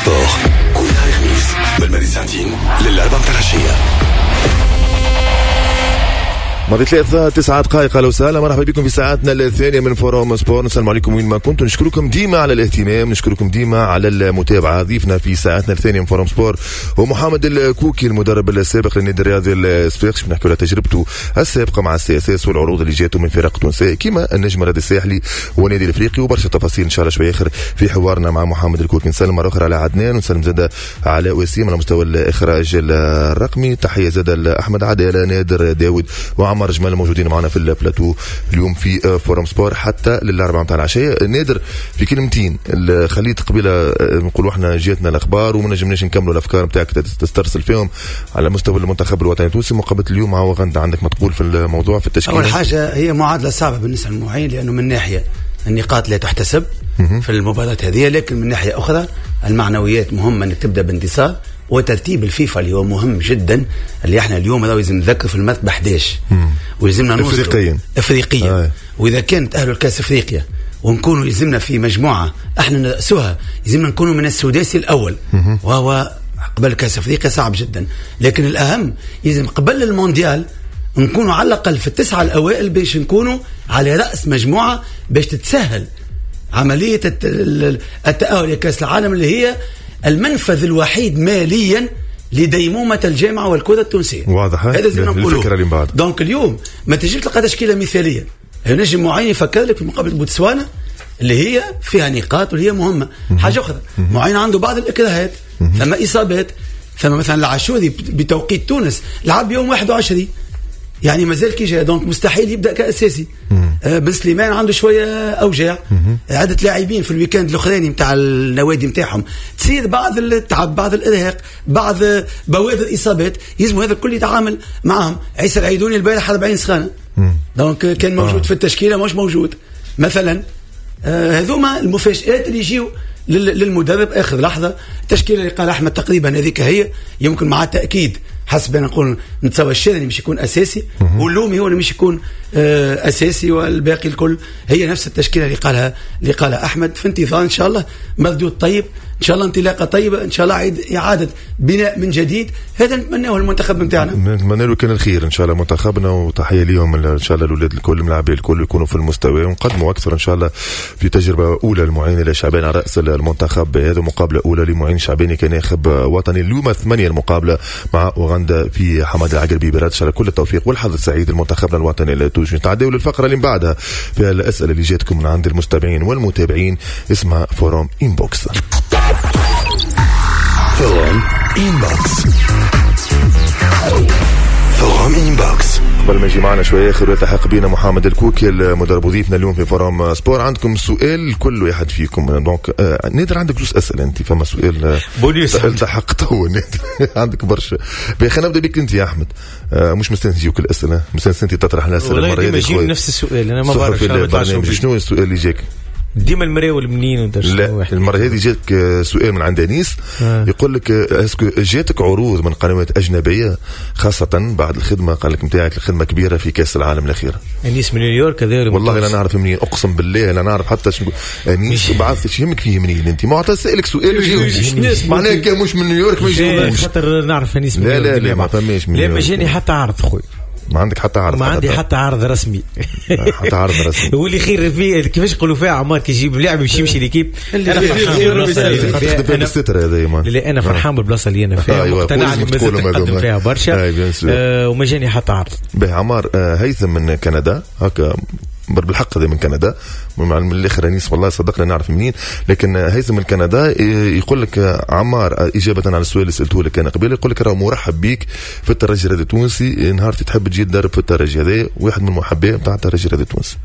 Sport كل نهار خميس من ساعتين للأربعة متاع العشية. ماضي 3 9 دقائق. اهلا وسهلا، مرحبا بكم في ساعتنا الثانية من Forum Sport. نسلم عليكم وين ما كنتم، نشكركم ديما على الاهتمام، نشكركم ديما على المتابعه. ضيفنا في ساعتنا الثانية من Forum Sport هو محمد الكوكي، المدرب السابق للنادي الرياضي الصفاقسي. نحكي على تجربته السابقة مع ال CSS والعروض اللي جاته من فرق تونسية كما النجم الرياضي الساحلي والنادي الافريقي، وبرشا تفاصيل ان شاء الله شوية اخر في حوارنا مع محمد الكوكي. نسلم مرة اخرى على عدنان ونسلم زاد على وسيم على مستوى الاخراج الرقمي. تحية زاد لاحمد عدالة، نادر داود وعمر جمال الموجودين معنا في البلاتو اليوم في Forum Sport حتى للاربعه نتاع العشيه. نادر، في كلمتين، خليت قبيلة نقولوا احنا جاتنا الاخبار وما نجمناش نكملوا الافكار نتاعك تسترسل فيهم على مستوى المنتخب الوطني التونسي، مقابله اليوم مع اوغندا، عندك ما تقول في الموضوع، في التشكيله؟ اول حاجة هي معادلة صعبة بالنسبة للمعين، لانه من ناحية النقاط لا تحتسب في المباراة هذه، لكن من ناحية اخرى المعنويات مهمه، انك تبدا بانتصار، وترتيب الفيفا اللي هو مهم جدا، اللي احنا اليوم لازم نذكر في المرتبة 11 ولازمنا نوصل افريقيا. افريقيا. واذا كانت اهل الكاس افريقيا ونكونوا يلزمنا في مجموعة احنا نرأسوها، يلزمنا نكونوا من السداسي الاول، وهو قبل كاس افريقيا صعب جدا. لكن الاهم يلزم قبل المونديال نكونوا على الاقل في التسعة الاوائل باش نكونوا على راس مجموعه، باش تتسهل عملية التاهل لكاس العالم اللي هي المنفذ الوحيد ماليا لديمومه الجامعة والكره التونسيه. واضح. هذا زي ما نقولوا. الفكرة اللي بعد. donc اليوم ما تجيش تلقى تشكيله مثاليه. نجم معين يفكر لك في مقابله بوتسوانا اللي هي فيها نقاط واللي هي مهمه. حاجة اخرى، معين عنده بعض الاكراهات، ثم اصابات، ثم مثلا العاشوري بتوقيت تونس لعب يوم 21، يعني مازال كي جا، donc مستحيل يبدا كاساسي. بن سليمان عنده شوية اوجاع، عده لاعبين في ال week-end الاخراني نتاع النوادي نتاعهم تصير بعض التعب، بعض الارهاق، بعض بوادر اصابات، يلزم هذا الكل يتعامل معهم. عيسى العيدوني البارح 40 سخانه، donc كان موجود في التشكيلة مش موجود مثلا. هذوما المفاجآت اللي يجيو للمدرب اخر لحظه. التشكيلة اللي قال احمد تقريبا هذيك هي، يمكن مع تاكيد حسب انا نقول نتصور الشاذلي مش يكون اساسي واللومي هو اللي مش يكون اساسي، والباقي الكل هي نفس التشكيلة اللي قالها احمد. في انتظار ان شاء الله مردود طيب، ان شاء الله انطلاقة طيبه، ان شاء الله اعاده بناء من جديد، هذا نتمناه المنتخب نتاعنا. نتمنى له كان الخير ان شاء الله منتخبنا، وتحية ليهم ان شاء الله الاولاد الكل، الملاعبين الكل يكونوا في المستوى ونقدموا اكثر ان شاء الله في تجربه اولى لمعين الشعباني على راس المنتخب. هذا مقابله اولى لمعين شعباني كناخب وطني. اليوم 8 المقابلة مع اوغندا في حمادي العقربي برادس. كل التوفيق والحظ السعيد لمنتخبنا الوطني التونسي. نتعداو للفقرة اللي من بعدها فيها الاسئلة اللي جاتكم من عند المستمعين والمتابعين، اسمها Forum Inbox. Forum Inbox، Forum Inbox. قبل ما يجي معنا شوية اخر ويلتحق بنا محمد الكوكي المدرب وضيفنا اليوم في Forum Sport، عندكم سؤال كل واحد فيكم. donc نادر عندك زوج اسئله، انت فما سؤال بونيوس. التحق تو نادر عندك برشا. خلينا نبدا بك انت يا احمد. مش مستانس يجيوك الاسئله، مستانس انت تطرح الاسئله. المرة هذه ديما نفس السؤال، انا ما بعرف. شنو السؤال اللي جاك؟ ديما المراول منين؟ لا، المرة هذه جاتك سؤال من عند انيس. يقول لك est-ce que جاتك عروض من قنوات اجنبيه، خاصة بعد الخدمه، قال لك نتاعك الخدمة كبيرة في كاس العالم الاخير؟ انيس من نيويورك هذا؟ والله لا نعرف منين، اقسم بالله لا نعرف حتى شنو. انيس بعث، يهمك فيه منين انت؟ ما سالك سؤال وجاوب، معناها كان مش من نيويورك ما يجاوبوش. خاطر نعرف انيس من لا لا لا، ما فماش. من لا، ما جاني حتى عرض خويا. ما عندك حتى عرض؟ ما عندي حتى عرض رسمي. حتى عرض رسمي. هو اللي خير فيه كيفاش يقولوا فيها عمار، كي يجيب لاعب باش يمشي l'équipe. انا فرحان. لا، انا فرحان بالبلاصه اللي انا فيها. مقتنع اللي مازلت نقدم فيها برشا وما جاني حتى عرض. باهي عمار. هيثم من كندا، هكا بالحق هذا من كندا، من الاخر انيس والله صدقنا نعرف منين، لكن هيثم من كندا يقول لك عمار، اجابه على السؤال اللي سالته لك انا قبل، يقول لك راه مرحب بيك في الترجي الرياضي التونسي نهار تحب تجي تدرب في الترجي. هذا واحد من المحبين نتاع الترجي الرياضي التونسي.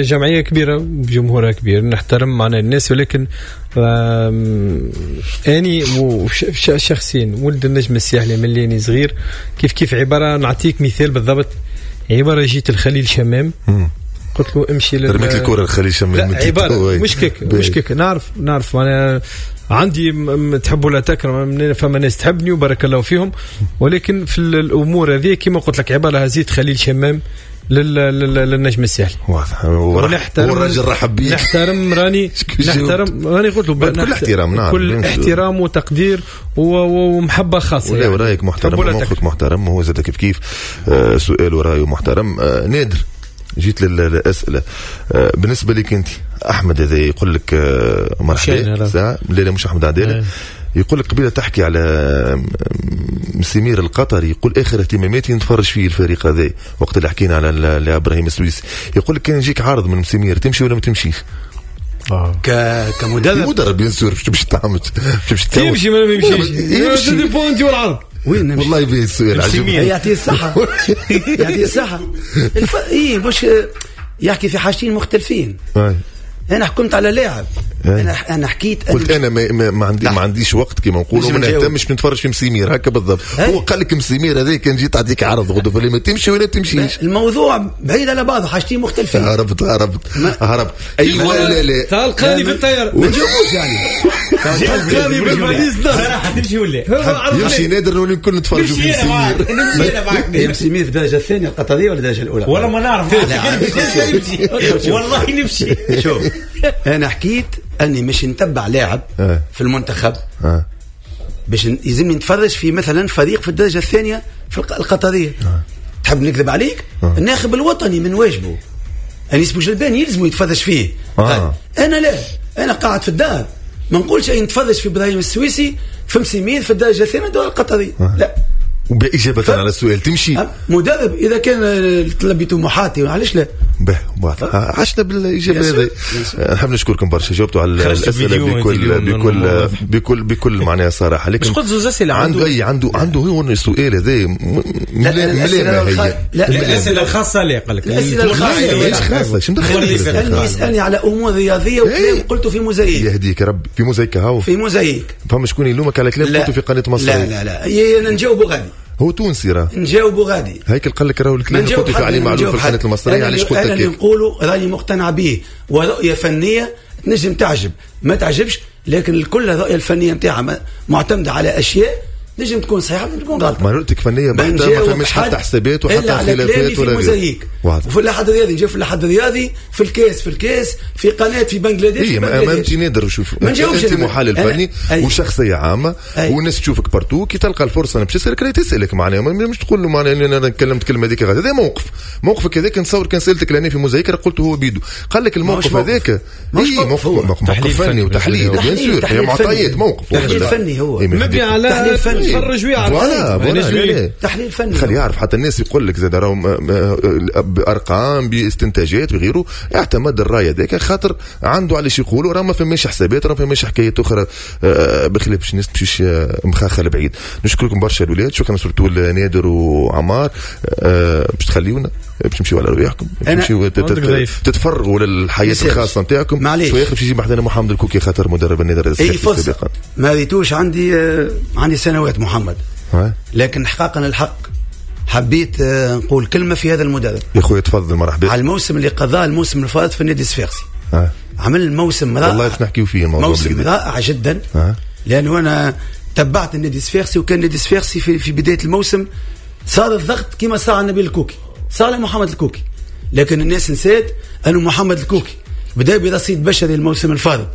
جمعية كبيرة بجمهورها كبير، نحترم معنا الناس، ولكن اني شخصيا ولد النجم الساحلي من اللي صغير. كيف كيف عبارة نعطيك مثال بالضبط، عبارة جيت الخليل شمام قلت له امشي لل رميت الكره الخليل شمام. لا، عبارة مش كيك مش كيك، نعرف نعرف انا عندي تحب ولا تكره، فما ناس تحبني وبارك الله فيهم، ولكن في الامور هذه كما قلت لك عبارة هزيت خليل شمام للنجم الساحلي. واضح. والراجل رحب بيك. نحترم راني نحترم راني قلت له بكل احترام، نعم كل احترام وتقدير ومحبه خاصة. ولا ورايك محترم وموقفك محترم، وهو زاد كيف كيف سؤال ورايه محترم. نادر، جيت للاسئلة. بالنسبة لك انت احمد، هذا يقول لك مرحبا. لا مش احمد عدالة، يقول لك قبيلة تحكي على مسيمير القطري، يقول اخر اهتماماتي نتفرج فيه الفريق هذا وقت اللي حكينا على ابراهيم السويسي. يقول لك كان يجيك عرض من مسيمير تمشي ولا ما تمشيش؟ كمدرب مدرب bien sûr باش تعمل تمشي ولا ما يمشيش؟ dépend والعرض وين نمشي؟ والله يبي السؤال عجيب. يعطيه الصحة يعطيه الصحة. ايه مش يحكي في حاجتين مختلفين. انا حكمت على لاعب، انا حكيت قلت انا ما عنديش وقت كما نقولوا، ما نهتمش نتفرج في مسيمير هكا بالضبط. هو قال لك مسيمير هذا كان جيت تعطيك عرض غدوه فلي ما تمشي ولا تمشيش. الموضوع بعيد على بعضه، حاجتين مختلفين. هربت هربت. ايوه لا لا تلقاني في الطيارة ما نجاوبوش يعني. تلقاني بالفاليز صراحة تمشي ولا يمشي نادر نولي الكل نتفرجوا في مسيمير. نمشي انا معاك. مسيمير في الدرجة الثانية القطرية ولا الدرجة الاولى؟ والله ما نعرف. والله نمشي. شوف انا حكيت اني مش نتبع لاعب في المنتخب باش يلزمني نتفرج في مثلا فريق في الدرجة الثانية في القطرية. تحب نكذب عليك؟ الناخب الوطني من واجبه انيس بوجلبان يلزمه يتفرج فيه. انا لا، انا قاعد في الدار ما نقولش اي نتفرج في ابراهيم السويسي في مسيمير في الدرجة الثانية الدول القطرية. لا. وبإجابة على السؤال تمشي مدرب إذا كان تلبي طموحاتي علاش لا؟ به عشنا بالإجابة هذه. نحب نشكركم برشا، جاوبتوا على الأسئلة بكل بكل بكل بكل معناها صراحة. لكن مش قلت زوز أسئلة عنده عنده هو السؤال هذا ملا لا الأسئلة الخاصة اللي قال لك الأسئلة الخاصة مش خاصة. شو مدخل؟ يسألني على أمور رياضية وكلام قلته في موزايك. يهديك ربي في موزايك هاو في موزايك. فما شكون يلومك على كلام قلته في قناة مصر؟ لا لا لا، أنا نجاوبه غادي. هو تونسي راه نجاوبوا غادي. هيك قال لك راهو الكلام اللي قلت عليه معلوم في القناة المصرية. علاش قلت هكاك؟ انا نقولوا راني مقتنع به، ورؤية فنية تنجم تعجب ما تعجبش، لكن الكل الرؤية الفنية نتاعها معتمدة على اشياء نجم تكون صحيحه نجم تكون غلط. ما رؤيتك فنية بحته، ما فماش حتى حسابات وحتى خلافات ولا موزايك. وفي الاحد الرياضي نجي في الاحد الرياضي في الكاس في الكاس في قناة في بنغلاديش. اي ما انت نادر شوف انت محلل فني وشخصية عامة والناس تشوفك partout، كي تلقى الفرصة باش تسالك راهي تسالك معناها، مش تقول له معناها انا تكلمت كلمة هذيك. هذا موقف موقفك هذاك نتصور كان سالتك لاني في موزايك قلت هو بيدو قال لك الموقف هذاك موقف فني وتحليل bien sûr، هي معطيات موقف تحليل فني هو مبني على تفرج ويعرف تحليل فني. خلي يعرف حتى الناس يقول لك زاد راهم بارقام باستنتاجات وغيره، اعتمد الراي هذاك خاطر عنده علاش يقولوا راه ما فماش حسابات، راه ما فماش حكايات اخرى بخلاف باش الناس تمشيش مخاخه لبعيد. نشكركم برشا الاولاد، شكرا surtout نادر وعمار باش تخليونا باش تمشيو على رواحكم، تمشيو تتفرغوا للحياة الخاصة نتاعكم. شوية باش يجي بحذانا محمد الكوكي خاطر مدرب النادي الصفاقسي سابقا. ما ريتوش عندي سنوات محمد، لكن حقاقا الحق حبيت نقول كلمة في هذا المدرب. يا خويا تفضل مرحبا. على الموسم اللي قضاه الموسم الفائت في النادي الصفاقسي، عمل موسم رائع. والله باش نحكيو فيه الموضوع، موسم رائع جدا. لانه انا تبعت النادي الصفاقسي، وكان النادي الصفاقسي في بداية الموسم صار الضغط كما صار على نبيل الكوكي، صار على محمد الكوكي، لكن الناس نسات انه محمد الكوكي بدا برصيد بشري الموسم الفارط.